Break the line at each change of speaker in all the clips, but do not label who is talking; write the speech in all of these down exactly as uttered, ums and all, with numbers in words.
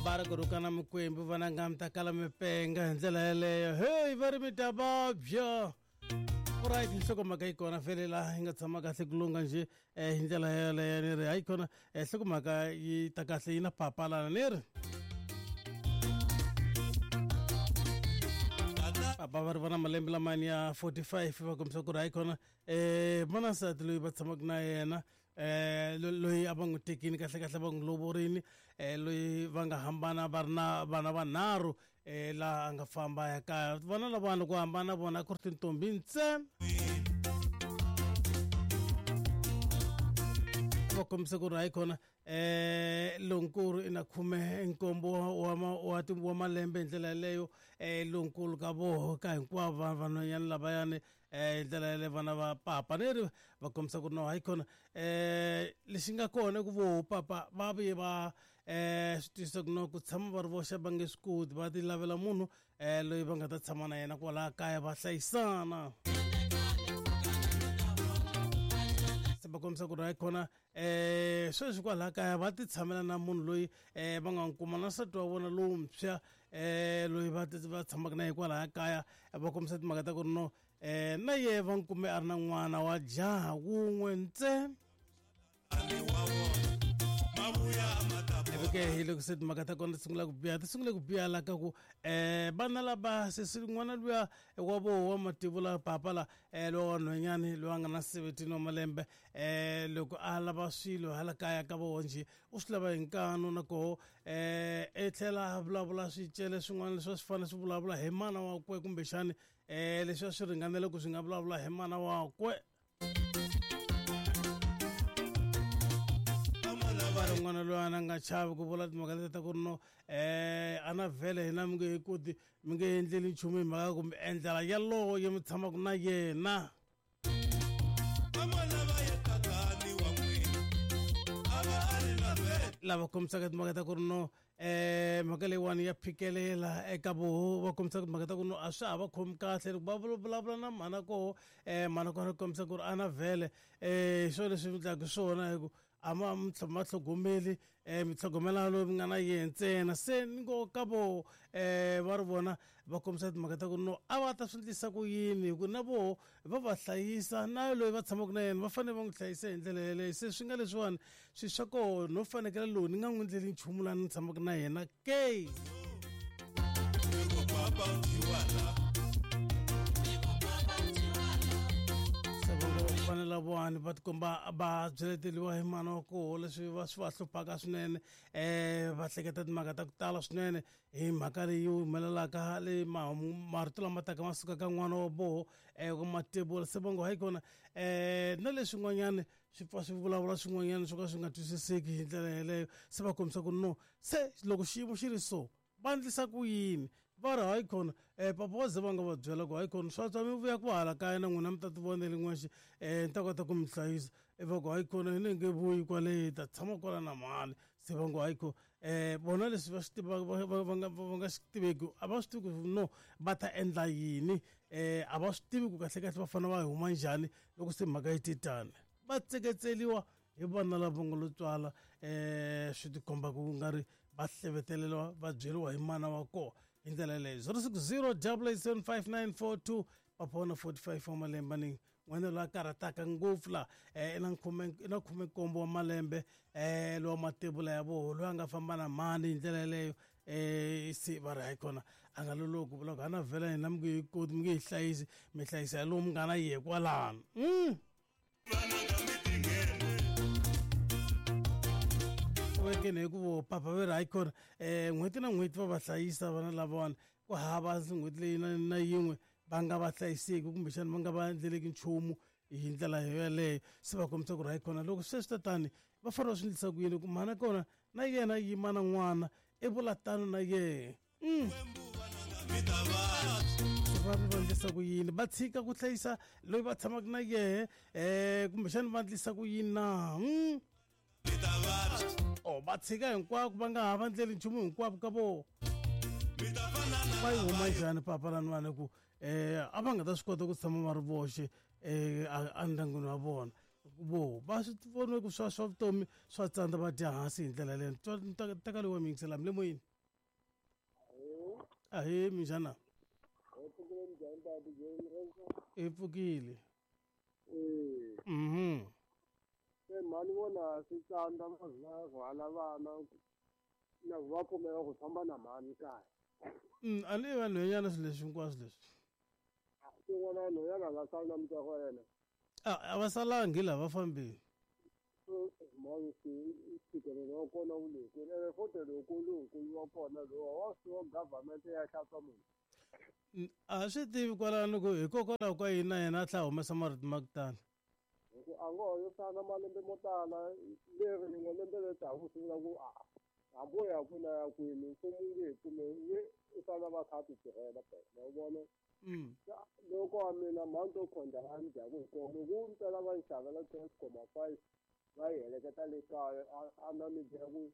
Bara ku rhukana mikwembu vananga mi ta kala mi penga hi ndlela yeleyo. Hey, va ri mi ta vabya. Alright, nhlokomhaka yi kona vhele laha yi nga tshama kahle ku lungha njhe hi ndlela yeleyo ni ri hayi kona nhlokomhaka yi ta kahle yi na papa lana ni ri. Papa va ri va na malembe lamani ya forty-five va kombisa ku ri hayi kona um va na nsati loyi va tshamaka na yena eh loyi a va n'wi tekini kahle kahle va n'wi lovorini eh loyi va nga hambana va ri na vana vanharhu eh laha a nga famba ya kaya vana lavana ku hambana vona ku ri tintombi ntsena. Va kombisa ku ri hayi kona eh lonkulu i na khume nkombo wa wa wa malembe hi ndlela yeleyo eh lonkulu ka voho ka hinkwavo vanhwanyana lavayani eh hi ndlela yeleyo vana va papa ni ri va kombisa ku ri no hayi kona eh lexi nga kona ku voho papa va vuye va eh swi twisisa ku no ku tshama va ri voxe va nge swi koti va ti lavela munhu eh loyi va nga ta tshama na yena kwalaha kaya va hlayisana. Va kombisa ku ri hayi kona eh sweswi kwalaha kaya va ti tshamela na munhu loyi eh va nga n'wi kuma na nsati wa vona lowuntshwa eh loyi va va tshamaka na yena kwalaha kaya va kombisa timhaka ta ku ri no eh na yehe va n'wi kume a ri na n'wana wa jaha wun'we ntsena. Ke hi loko se timhaka ta kona ti sungula ku biha ti sungule ku biha la ka ku um vana lava sesi n'wana luya wa voho wa mativula papa la um lowa wa nhwanyani loyi a nga na seventeen wa malembe um loko a lava swilo hala kaya ka voho njhe u swi lava hi nkanu na koho um i tlhela a vulavula swicele swin'wana leswi a swi fanele swi vulavula hi mana wakwe kumbexani um leswi a swi ringanele ku swi nga vulavula hi mana wakwe. N'wana loyi a nga chavi ku vula timhaka leti ta ku ri no eh a na vhele hina mi nge he koti mi nge endleli nchumu hi mhaka kumbe endlela yalowo ye mi tshamaka na yena. Lava kombisaka timhaka ta ku ri no eh mhaka leyiwani ya phikelela eka voho va kombisaka timhaka ta ku no a swa ha va khomi kahle loko va vulavula na mhana koho eh mhana kona kombisa ku ri a na vhele eh swo leswi mi endlaka swona hi ku a ma ma tlhogomeli eh mi tlhogomela loyi mi nga na yena ntsena se ni ngo ka voho eh va ri vona va kombisa timhaka ta ku no a va ta swi endlisa ku yini hi ku na voho va va hlayisa na loyi va tshamaka na yena va fanele va n'wi hlayisa hi ndlela yeleyo se swi nga leswiwani swi swa koho no fanekele lowu ni nga n'wi endleli nchumu laha ni tshamaka na yena ke. Vana lavawani va tikomba va byeleteliwa hi mana wa koho leswi va swi va hluphaka swinene um va hleketa timhaka ta ku tala swinene hi mhaka leyi humelelaka leyi marito lama taka ma suka ka n'wana wa voho um ku matebula se va ngo hayi kona um na leswin'wanyana swi pfa swi vulavula swin'wanyana swo ka swi nga twisiseki hi ndlela yeleyo se va kombisa ku no se loko xiyimo xi ri so va endlisa ku yini va ri hayi kona um papa wa ze va nga va byela ku hayi kona swa tswa mi vuya ku hala kaya na n'wina mi ta ti vonela n'wexe um ni ta kota ku mi hlayisa i va ku hayi kona hi ni nge vuyi kwale hi ta tshama kwala na mhani se va ngo hayi kona um vona leswi va swi tiva va nga va nga swi tiveki a va swi tivi ku no va ta endla yini um a va swi tivi ku kahle kahle va fanele va huma njhani loko se mhaka yi te tani va tseketseliwa hi vana lava nga lo tswala um swi tikomba ku nga ri va hleveteleriwa va byeriwa hi mana wa kona hi ndlela yeleyo zero six zero double eight seven five nine four two papa wa na forty-five wa malembe ni n'wana loyi a karhataka ngopfu laha um i na khume i na khumenkombo wa malembe um lowa matebula ya voho loyi a nga famba na mhani hi ndlela yeleyo um se va ri hayi kona a nga loloki ku vula ku a na vhela hina mi nge yi koti mi nge yi hlayisi mi hlayisa hi lowu mi nga na yehe kwalano. Vekeni hi ku vo papa va ri hayi kona um n'hweti na n'hweti va va hlayisa vana lavawani ku hava n'hweti leyi na na yin'we va nga va hlayiseki kumbexana va nga va endleleki nchumu hi ndlela yoyeleyo se va kombisa ku ri hayi kona loko sweswi tatani va fanele va swi endlisa ku yini ku mhana kona na yena yima na n'wana i vula tano na yehe. Va va endlisa ku yini va tshika ku hlayisa loyi va tshamaka na yehe um kumbexana va endlisa ku yini na o va tshika hinkwako va nga ha va ndleli nchumu hinkwavo ka voho va yi huma njhani papa laniwani ku um a va nga ta swi kota ku tshama va ri voxe um endyangwini wa vona vo va swi vone ku swa swa vutomi swa tsandza va dya hansi hi ndlela leyo teka loyi wa mi yingisela mi le moyeni. Ahee minjhana?
Hi pfukile njhani ta D J Rex?
Hi pfukile.
Eh.
Mhm.
Se mhani vona swi tsandza va za rhwala vana na va pfumela ku famba na mhani kaya.
Mm, a ni vanhwanyana swilo leswi hinkwaswo leswi.
Tin'wana nhwanyana va sala na mutswari wa yena.
A a va salangi laha va fambile.
Mhani ntshikelelo wa kona wu le kwini ene futhi loko lowukulu wa kona lowa wa swi wa government ya hlantswa munhu.
A swi tivi kwalano ku hikokwalaho ka yini na yena a tlhela a humesa marito ma ku tala.
Hi ku a ngo ho yo fana malembe mo tala leri rin'we lembe leri taka ku sungula ku a hambi wo ya kwini a ya kwini mfumo wu nge he pfumeli i fanele va kha a ti tirhela phela ma vona. Loko wa mina mhani to khonda la ni dyaku hi kona loko wu mpela va yi xavela twelve comma five va yi heleketa le kaya a na mi byela ku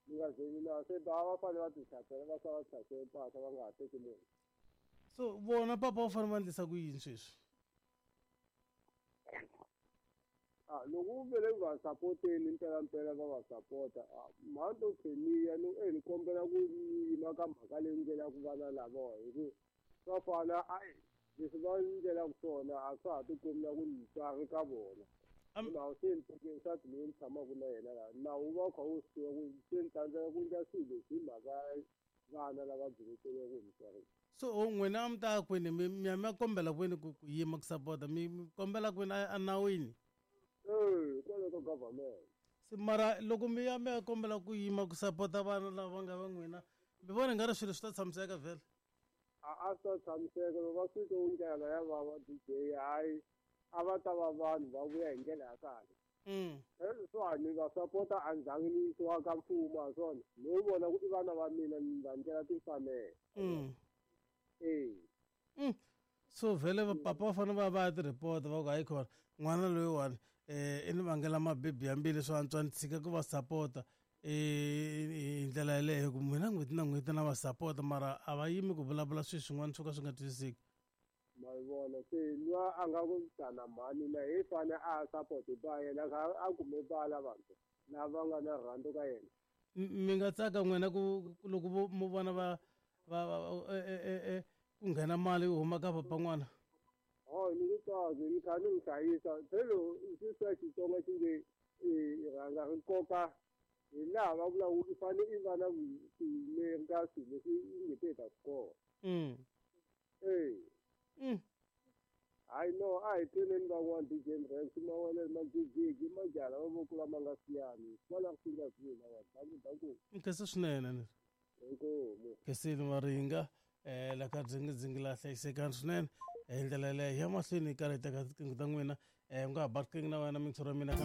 mi nga ze ni na se va va fanele va ti xavela va sala va hlayisele mpahla va nga ha teki munhu.
So vona papa va fanele va endlisa ku yini sweswi?
Ah, loko u vele va sapoteni mpela mpela va va sapota mhani to kheniya ni e ni kombela ku yima ka mhaka leyi ndlelaku vana lavawa hi ku swa fana a leswi va ndlelaku swona a swa ha tikomi na ku mutswari ka vona. Nawu se ni teke nsati loyi ni tshamaka na yena laha nawu wu va wu kha wu swi tiva ku se ni tsandzeka ku endla swilo leswi hi mhaka vana lava byeleteriwaka hi mutswari.
So n'wina a mi ta kwini mi mi ya mi ya kombela kwini ku ku yima ku sapota mi kombela kwini a nawini?
Eh, kwale ka government.
Se mara loko mi ya mi ya kombela ku yima ku sapota vana lava nga va n'wina mi vona nga ri swilo swi ta tshamiseka vhele?
A a swi ta tshamiseka loko va swi twa ndlela ya vava D J hayi a va ta va vanhu va vuya hi ndlela ya kahle.
Mm.
Leswiwani va sapota a ndzhangi ni yisiwa ka mfumo ha swona no vona ku i vana va mina ni va ndlela timfanelo.
Mm.
Eh.
Mm. So vhele papa va fanele va va ya ti-report va ku hayi khona n'wana loyiwani eh i ni vangela mabibi ya mbilu swo antswa ni tshika ku va sapota eh hi ndlela yeleyo ku mina n'hweti na n'hweti na va sapota mara a va yimi ku vulavula swilo swin'wana swo ka swi nga twisiseki.
Ma vona se lwa a nga ku tana mhani na hi fane a support ba yena a kume ba lavantshwa lava nga na rhandzu ka yena.
Mi nga tsaka n'wina ku loko mo vona va va e e ku nghena mali yi huma ka papa n'wana?
Ho ni ku tsaki ni kha ni n'wi hlayisa phelo swi swa Xitsonga xi nge i rhanga ri nkoka hi laha va vulaka ku i fane i va na vutiyileri ka swilo leswi i nge te ta swi kona.
Mm.
Eh.
Mm.
Hayi no a hi tweleni van'wana D J Rex mawele magigigi majaha va voko lama nga siyani kwala ku nga swi lava danku danku.
Nkhensa swinene ni.
Inkomu.
Khensile Maringa eh la ka dzingi la hlayisekani swinene hi ndlela yeleyo ya mahlweni hi karhi hi teka tiqingho ta n'wina eh u nga ha ba riqingho na wena mintshoro ya mina ka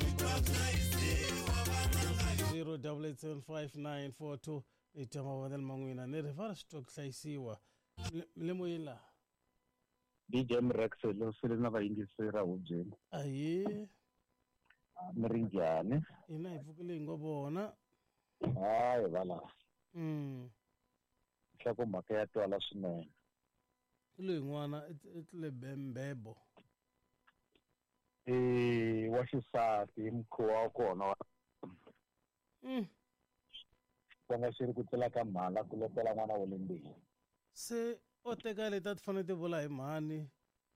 zero double eight seven five nine four two ni twa mavonelo ma n'wina ni ri va ri swi twa ku hlayisiwa mi le moyeni laha.
D J Rex lo sele na vayingiseri hubyeni.
Ahee.
Mi ri njhani?
Hina hi pfukile hi ngo vona.
Hayi vala.
Mm.
Nhlokomhaka ya twala swinene.
Loyi n'wana i tlule bembebo.
Eh wa xisati mukhuva wa kona wa
Mm.
Xitsonga xi ri ku tlula ka mhala ku lopela n'wana wa le mbili.
Se o teka leti a ti fanele ti vula hi mhani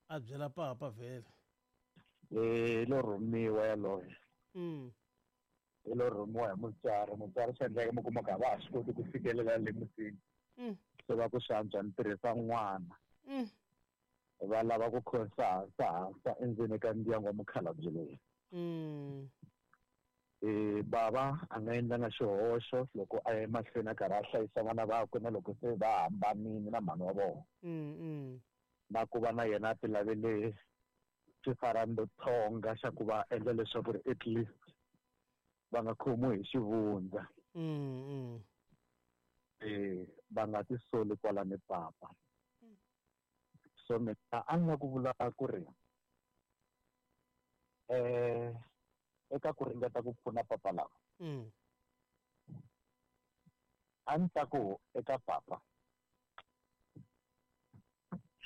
a byela papa vhele.
Eh lo rhumiwa yaloye.
Mm.
Hi lo rhumiwa hi mutswari mutswari swi endleka mi kuma ku a va ha swi koti ku fikelela le mutini.
Mm.
Se va ku swi antswa ni tirhisa n'wana.
Mm.
Va lava ku khonsa hansa hansa endzeni ka ndyangu wa mukhalabye loyi.
Mm.
Eh bava a nga endlanga xihoxo loko a ya emahlweni a karhi a hlayisa vana vakwe na loko se va hambanile na mhani wa vona.
Mm, mm.
Na ku va na yena a ti lavele xifarandothonga xa ku va endla leswaku ri at least va nga khomiwi hi xivundza.
Mm, mm.
Eh va nga ti soli kwala ni papa. So mina a ni nga ku vula ku ri eh eka ku ringeta ku pfuna papa lava.
Mm.
A ni ta ku eka papa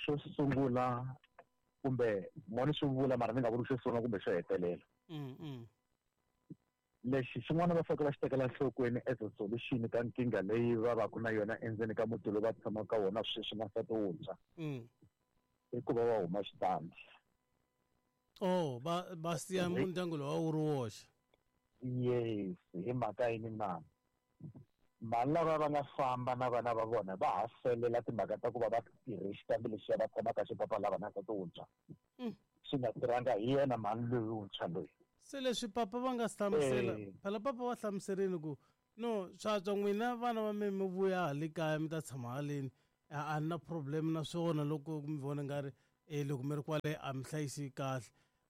xo sungula kumbe moni swi vula mara ni nga vuli xo sungula kumbe xo hetelela.
Mm, mm.
Lexi xin'wana va fanele va xi tekela enhlokweni as a solution ka nkingha leyi va va ku na yona endzeni ka muti lowu va tshamaka ka wona sweswi na nsati wuntshwa.
Mm.
I ku va va huma xitandi.
Oh, va va siya ndyangu lowu a wu ri woxe.
Yes, hi mhaka yini na? Vanhu lava va nga famba na vana va vona va ha felela timhaka ta ku va va tirhe xitandi lexiya va tshamaka xipapa lava na nsati wuntshwa. Swi nga tirhanga hi yena mhani loyi wuntshwa loyi.
Se leswi papa va nga hlamusela, phela papa va hlamuserile ku no swa tswa n'wina vana va mi mi vuya hale kaya mi ta tshama haleni a ni na problem na swona loko mi vona nga ri e loko mi ri kwale a mi hlayisi kahle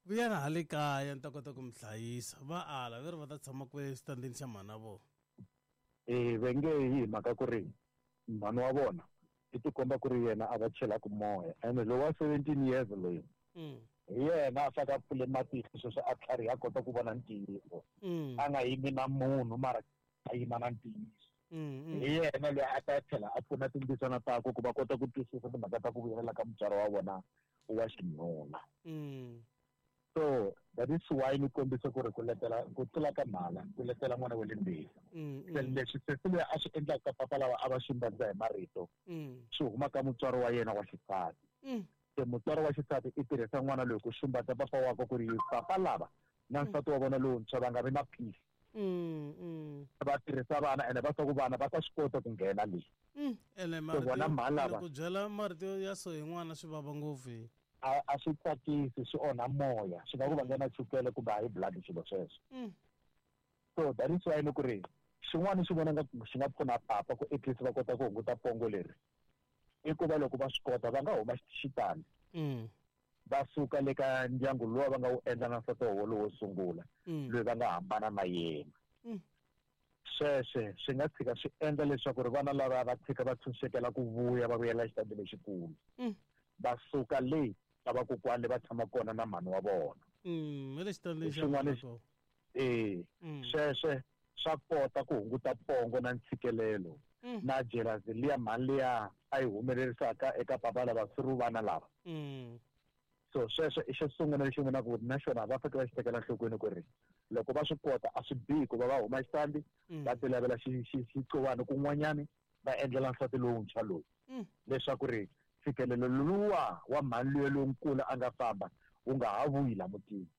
vuyana hale kaya ni ta kota ku mi hlayisa. Va ala ve ri va ta tshama kwale xitandini xa mhana vona.
Eh va nge hi mhaka ku ri mhani wa vona i tikomba ku ri yena a va chelaka moya ene lowa wa seventeen years loyi hi yena a faka pfule matihlo sweswo a tlhariha a kota ku vona ntiyiso. A nga yimi na munhu mara a yima na ntiyiso. Hi yena loyi a ta tlhela a pfuna timbisana takwe ku va kota ku twisisa timhaka ta ku vuyelela ka mutswari wa vona wa xinuna. So that is why ni kombisa ku ri ku letela ku tlula ka mhala ku letela n'wana wa le mbili. Se leswi sesi loyi a swi endlaka ka papa lava a va xumbadza hi marito swi huma ka mutswari wa yena wa xisati. Se mutswari wa xisati i tirhisa n'wana loyi ku xumbadza papa wakwe ku ri papa lava na nsati wa vona lowuntshwa va nga vi na peace. Va tirhisa vana ene va swa ku vana va ta swi kota ku nghena leyi.
Ene
vona mhani lava
ku byela marito ya so hi n'wana swi vava ngopfu.
A a swi tsakisi, swi onha moya, swi nga ku vangela chukele kumbe high blood swilo sweswo. So that is why ni ku ri xin'wana xi vona nga xi nga pfuna papa ku at least va kota ku hunguta pongo leri i ku va loko va swi kota va nga huma xitandi va suka le ka ndyangu luwa va nga wu endla na nsati wa vona lowo sungula loyi va nga hambana na yena. Sweswe swi nga tshika swi endla leswaku ri vana lava va tshika va tshunxekela ku vuya va vuyela xitandi lexikulu. Va suka le ka vakokwani va tshama kona na mhani wa vona.
Xin'wana
eh sweswe swa kota ku hunguta pongo na ntshikelelo na jealousy liya mhani liya a yi humelerisaka eka papa lava through vana lava. So sweswo i xo sungula lexi vonaka ku na xona va fanele va xi tekela enhlokweni ku ri loko va swi kota a swi bihi ku va va huma xitandi va ti lavela xiqovana kun'wanyani va endlela nsati lowuntshwa lowu leswaku ri ntshikelelo luwa wa mhani luya lonkulu a nga famba wu nga ha vuyi la mutini.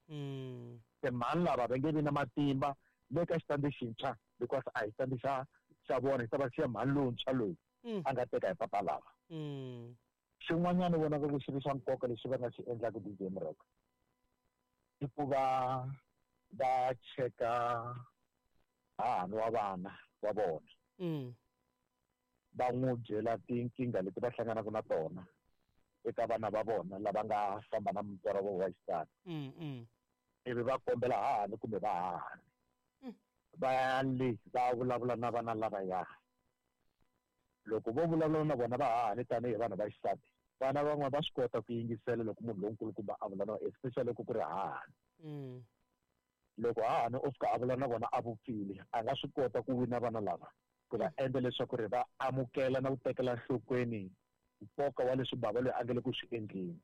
Se mhani lava va nge vi na matimba le ka xitandi xintshwa because a hi xitandi xa xa vona xi ta va xiya mhani lowuntshwa loyi a nga teka hi papa lava. Xin'wanyana vonaka ku xi ri xa nkoka lexi va nga xi endlaka D J Mreka i ku va va cheka hahani wa vana wa vona. Va n'wi byela tinkingha leti va hlanganaka na tona eka vana va vona lava nga famba na mutswari wa wa xisati. Ivi va kombela hahani kumbe va hahani va ya le va vulavula na vana lavaya. Loko vo vulavula na vona va hahani tanihi vanhu va xisati, vana van'wana va swi kota ku yingisela loko munhu lonkulukumba a vula na especially loko ku ri hahani. Loko hahani o fika a vula na vona a vupfile, a nga swi kota ku wina vana lava ku va endla leswaku ri va amukela na ku tekela enhlokweni nkoka wa leswi bava loyi a nga le ku swi endleni.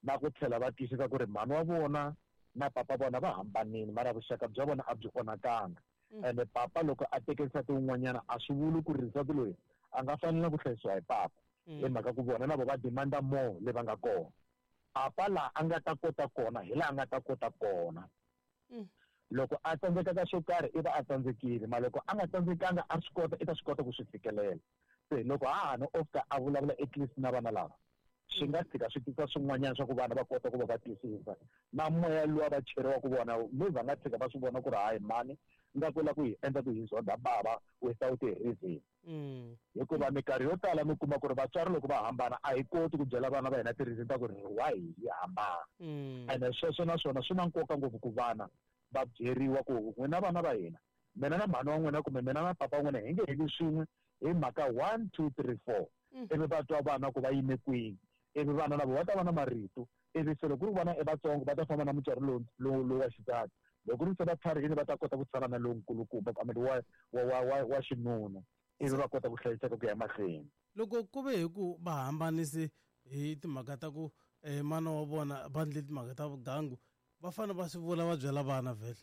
Na ku tlhela va twisisa ku ri mhani wa vona na papa vona va hambanile mara vuxaka bya vona a byi onhakanga. Ene papa loko a teke nsati wun'wanyana a swi vuli ku ri nsati loyi a nga fanela ku hlayisiwa hi papa hi mhaka ku vona na vo va demanda more le va nga kona. Papa laha a nga ta kota kona hi laha a nga ta kota kona. Loko a tsandzeka ka xo karhi i va a tsandzekile, ma loko a nga tsandzekanga a swi kota i ta swi kota ku swi fikelela. Se loko hahani o fika a vulavula at least na vana lava swi nga tshika swi tisa swin'wanyana swa ku vana va kota ku va va twisisa na moya luwa va cheriwaka vona maybe va nga tshika va swi vona ku ri hayi mhani nga ku la ku hi endla ku hi zonda bava without a reason. Hikuva minkarhi yo tala mi kuma ku ri vatswari loko va hambana a hi koti ku byela vana va hina ti-reason ta ku ri why hi hambana. Ene sweswo na swona swi na nkoka ngopfu ku vana va byeriwa ku n'wina vana va hina mina na mhani wa n'wina kumbe mina na papa wa n'wina hi nge heli swin'we hi mhaka one two three four. Ivi va twa vana ku va yime kwini, ivi vana na vo va ta va na marito, ivi se loko ku ri vana i vatsongo va ta famba na mutswari lowu lowu lowu wa xisati, loko ri se va tlharihile va ta kota ku tshama na lonkulukumba I mean wa wa wa wa xinuna ivi va kota ku hlayiseka ku ya emahlweni.
Loko ku ve hi ku va hambanise hi timhaka ta ku mana wa vona va endle timhaka ta vugangu va fanele va swi vula va byela vana vhele.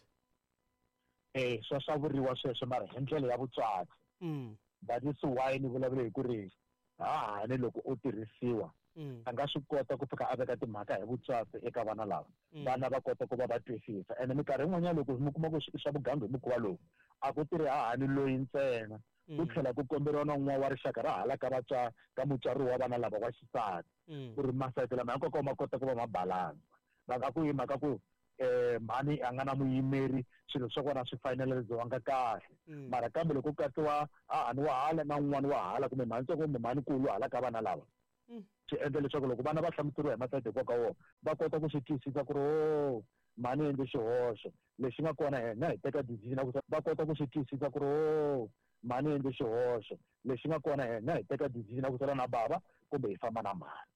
Eh swa swa vuriwa sweswo mara hi ndlela ya vutswatsi. That is why ni vulavula hi ku ri hahani loko u tirhisiwa a nga swi kota ku fika a veka timhaka hi vutswatsi eka vana lava. Vana va kota ku va va twisisa. Ene minkarhi yin'wanyana loko mi kuma ku swa vugangu hi mukhuva lowu a ku tirhi hahani loyi ntsena ku tlhela ku komberiwa na un'wana wa rixaka ra hala ka vatswari ka mutswari wa vana lava wa xisati ku ri masayiti lama hinkwawo ma kota ku va ma balansa. Va nga ku hi mhaka ku eh mhani a nga na muyimeri swilo swa kona swi finaliziwanga kahle mara kambe loko ku katsiwa hahani wa hala na un'wana wa hala kumbe mhani ntsongo kumbe mhani nkulu hala ka vana lava swi endla leswaku loko vana va hlamuseriwa hi masayiti hinkwawo ka wona va kota ku swi twisisa ku ri o mhani endle xihoxo lexi nga kona hina hi teka decision ku va kota ku swi twisisa ku ri o mhani endle xihoxo lexi nga kona hina hi teka decision ku sala na bava kumbe hi famba na mhani.